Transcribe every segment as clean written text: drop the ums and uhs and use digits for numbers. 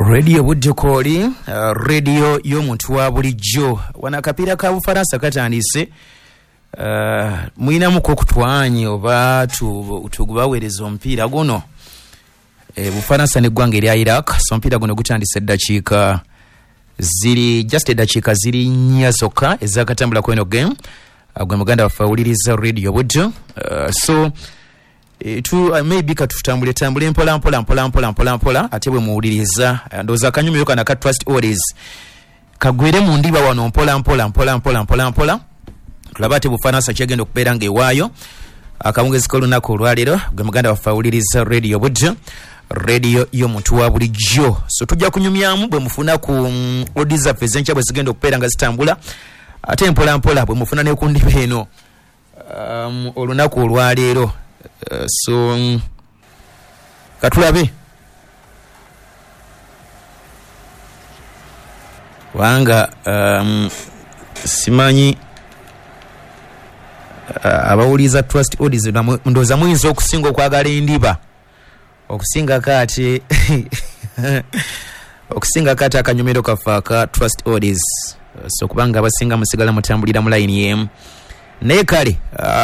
Radio Buddekooli, radio y'omuntu wa bulijjo. Wano akapiira ka Bufaransa katandise. Mulinamuko okutwanye oba tugubaweereza omupiira guno. Bufaransa n'eggwanga erya Iraq. So omupiira guno gutandise eddakiika ziri just eddakiika ziri nnya zokka ezakatambula ku eno game. Gwe muganda waffe awuliriza Radio Buddo. So maybe katutambule tambule mpola mpola mpola mpola mpola mpola, ate bwe muwuliriza ndowooza akanyumiro kano aka Trust Oldies kagwere mu ndiba wano mpola mpola mpola mpola mpola mpola, tulabe ate Bufaransa kyegenda okubeera ng'ewaayo akawungezi k'olunaku olwaleero. Gwe muganda waffe awuliriza Radio Buddo, radio y'omuntu wa bulijjo. So tujja kunyumyamu bwe mufuna ku oldies zaffe ez'enkya bwe zigenda okubeera nga zitambula, ate mpola mpola bwe mufuna ne ku ndiba eno olunaku olwaleero. So katulabe kubanga simanyi abawuliza Trust Oldies ndowooza muyinza okusinga okwagala endiba okusingako ate okusingako ate akanyumiro kaffe aka Trust Oldies. So kubanga abasinga musigala mutambulira mu layini y'emu. Naye kale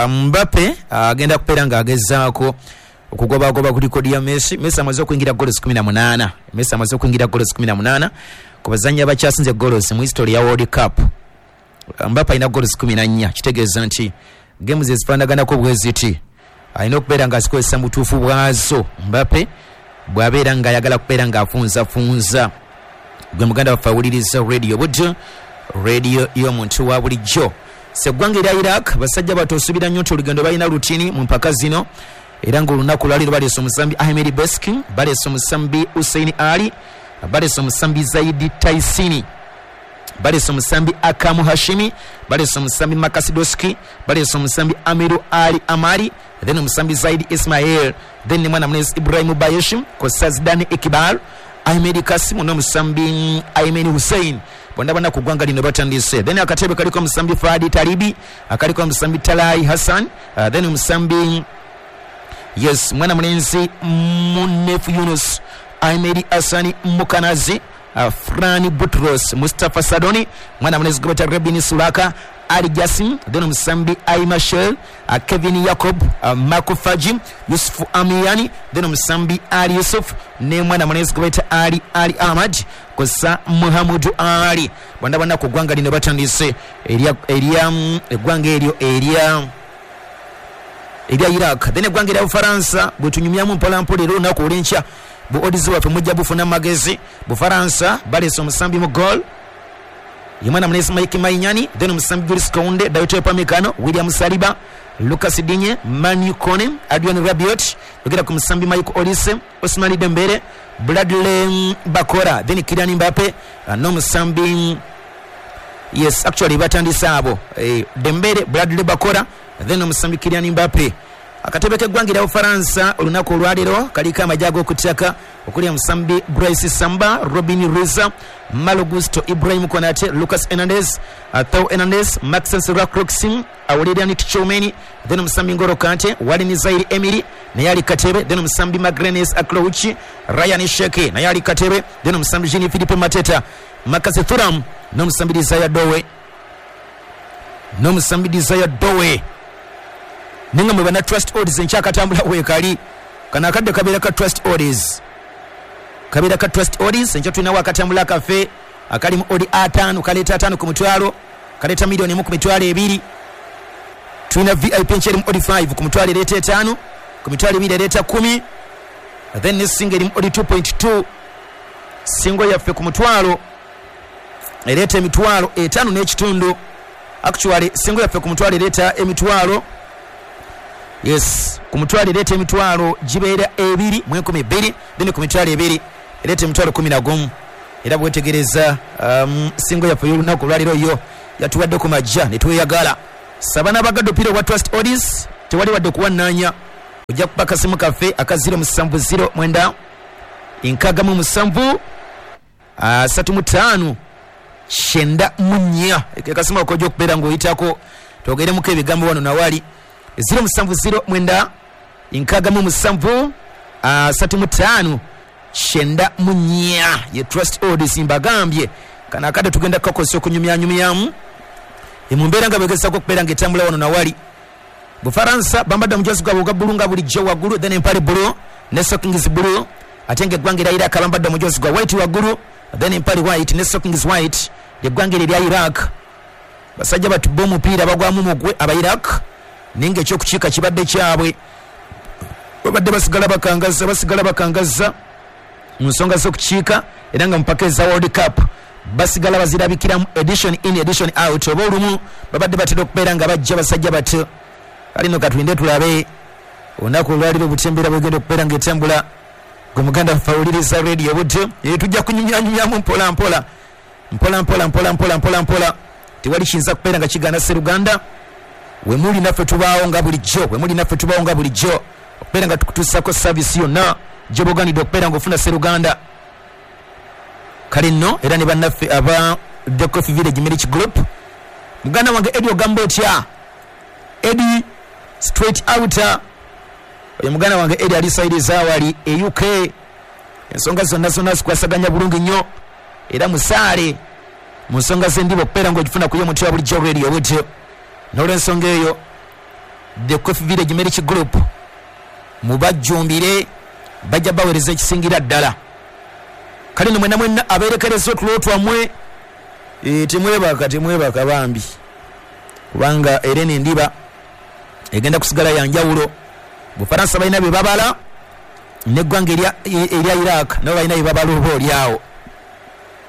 Mbappe agenda kubeera ng'agezaako okugobagoba ku likodi ya Messi. Messi amaze okuyingira goals 18. Messi amaze okuyingira goals 18 ku bazannyi abakyasinze goals mu history ya World Cup. Mbappe alina goals 14, kitegeeza nti games ezifaanaganako bwe ziti alina okubeera ng'azikozesa mu butuufu bwazo. Mbappe bw'abeera ng'ayagala kubeera ng'afunzafunza. Gwe muganda waffe awuliriza Radio Buddo, radio y'omuntu wa bulijjo. Seggwanga erya Iraq basajja batosuubira nnyo nti olugendo balina lutini mu mpaka zino, era ng'olunaku lwaleero baleese omusambi Ahmed Beski, baleese omusambi Hussein Ali, baleese omusambi Zaidi Taisini, baleese omusambi Akamu Hashimi, baleese omusambi Makasidoski, baleese omusambi Amiru Ali Amari, then omusambi Zaidi Ismail, then ne mwana munenzi Ibrahim Bayeshim, kw'ossa Zidane Iqbal, Ahmed Kasimu n'omusambi Aymen Hussein. Bonna bonna ku ggwanga lino batandise. Then akatebe kaliko omusambi Fadi Talibi, akaliko omusambi Talai Hassan, then omusambi yes mwana mulenzi Munef Yunus, Ahmed Hasani Mukanazi, Frani Butros, Mustafa Sadoni, mwana mulenzi Gobeta Rebini Sulaka, Ali Jasim, then omusambi Aima Shell, Kevin Jacob, Marco Fajim, Yusufu Amiyani, then omusambi Ali Yusuf, ne mwana mulenzi Gobeta Ali Ali Ahmad, kosa Muhammadu Ali. Bonna bonna ku ggwanga lino batandise erya eggwanga eryo erya Iraq. Then eggwanga erya Bufaransa bwe tunyumyamu mpola mpola era olunaku olw'enkya bu odds waffe mujja bufuna magezi. Bufaransa baleese omusambi mu goal ye mwana mulenzi Mike Mainyani, then omusambi Jules Kounde, Dayot Upamecano, William Saliba, Lucas Digne, Manu Kone, Adrian Rabiot, yogera ku musambi Michael Olise, Ousmane Dembele, Bradley Bakora, then Kylian Mbappe n'omusambi yes actually batandise abo Dembele, Bradley Bakora, then omusambi Kylian Mbappe. Akatebe k'eggwanga erya Bufaransa olunaku olwaleero kaliko amagye ag'okuttaka okuli omusambi Bryce Samba, Robin Reza, Malo Gusto, Ibrahim Konate, Lucas Hernandez, Theo Hernandez, Maxence Lacroix, Aurelian Tchouameni, then omusambi N'Golo Kante, Warren Zaire Emery naye ali katebe, then omusambi Magrenes Aklouchi, Ryan Sheke naye ali katebe, then omusambi Jean Philippe Mateta, Marcus Thuram n'omusambi Desire Dowe, n'omusambi Desire Dowe. Ninga mwe bana Trust Oldies enkyakatambula weekali kano akadde kabeera ka Trust Oldies, kabeera ka Trust Oldies. Enkya tulinawo akatambula kaffe akalimu odi ataano, kaleeta ataano ku mutwalo, kaleeta miliyoni emu ku mitwalo ebiri. Tulina VIP enkya erimu odi 5 ku mitwalo ereeta etaano, ku mitwalo ebiri ereeta 10, then ne singa erimu odi 2.2. Singo yaffe ku mutwalo ereeta emitwalo etaano n'ekitundu. Actually singo yaffe ku mutwalo ereeta emitwalo yes ku mutwalo ereeta emitwalo gibeera ebiri mu enkumi bbiri, then ku mitwalo ebiri ereeta emitwalo 11. Era bwetegereza singo yaffe y'olunaku olwaleero yo yatuwadde ku majja ne tweyagala. Saba n'abagadde omupiira ogwa Trust Oldies tewali wadde okuwannaanya. Ojja kuba akasimu kaffe aka 0709 67 35 94. Akasimu ako ojja okubeera ng'oyitako twogeremuko ebigambo wano nawali. 0709 67 35 94 ye Trust Odds. Mbagambye kano akadde tugenda kukakozesa okunyumyanyumyamu mu mbeera nga bwegezako okubeera nga etambula wano nawali. Bufaransa bambadde omujozi gwabwe ogwa bbulu nga bulijjo waggulu, then empale bbulu ne stockings bbulu, ate nga eggwanga erya Iraq bambadde omujozi gwa white waggulu, then empale white ne stockings white. Eggwanga eryo erya Iraq, basajja batubba omupiira bagwamu mugwe aba Iraq, naye nga ekyokukiika kibadde kyabwe. Babadde basigala bakangazza, basigala bakangazza mu nsonga z'okukiika, era nga mupaka eza World Cup basigala bazirabikiramu edition in, edition out, oba olumu babadde batera okubeera nga bajja basajja batyo. Kale no katulinde tulabe olunaku olwaliro butya embeera bwegenda okubeera nga etambula. Gwe muganda waffe awuliriza radio butyo, tujja kunyumyanyumyamu mpola mpola mpola mpola mpola mpola mpola mpola. Tewali kiyinza kubeera nga kigaana seruganda. Wemuli naffe tubaawo nga bulijjo, wemuli naffe tubaawo nga bulijjo okubeera nga tukutuusako service yonna gyoba oganidde okubeera nga ofuna seruganda. Kale nno era ne bannaffe aba The Coffee Village Milk Group, muganda wange Edi, ogamba otya Edi? Straight out oyo muganda wange Edi ali side zawali e UK, ensonga zonna zonna zikwasaganya bulungi nnyo, era musaale mu nsonga z'endiba okubeera ng'ogifuna ku y'omuntu wa bulijjo radio butyo. N'olwensonga eyo, The Coffee Village Milk Group mubajjumbire, bajja baweereza ekisingira ddala. Kale no mwena mwena abeerekereza otulo twammwe, temwebaka, temwebaka bambi, kubanga era eno endiba egenda kusigala yanjawulo. Bufaransa balina bye babala, neggwanga erya Iraq nabo balina bye babala oba oliawo.